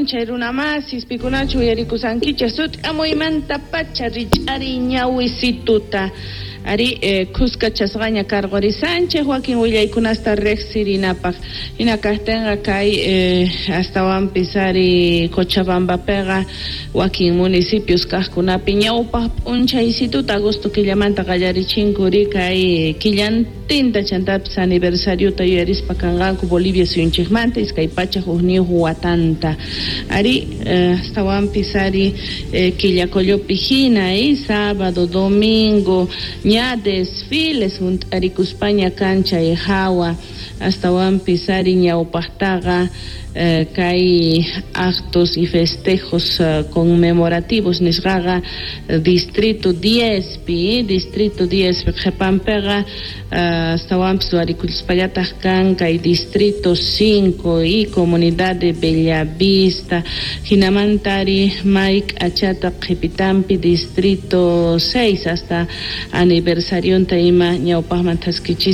p'unchay runamasis, pikunachu uyarikusankichik sut'amuymantapacha rich'ariy ñawisituta. Ari khuskachasqaña karqurisanchik wakin willaykunasta riqsirinapaq. Hina kaqtinqa kay astawanpis ari Cochabambapiqa wakin municipios kaqkunapi ñawpaq p'unchaysituta agosto killamanta qallarichinku ri kay killantinta chantapis aniversariota yuyarispa kanqanku Bolivia suyunchikmanta 201 watanta. Ari astawanpis ari Quillacollopi hina sábado, domingo ña desfiles hunt'arikuspaña kan chay hawa astawanpis ari ñawpaqtaqa kay actos y festejos conmemorativos nisqaqa distrito 10 pi, distrito 10 pi qhipanpiqa astawanpis ruwarikuspallataq kan kay distrito 5 y comunidad de Bellavista, hinamantari may k'achata qhipitanpi distrito 6 hasta aniversarionta ima ñawpaqman thaskichis.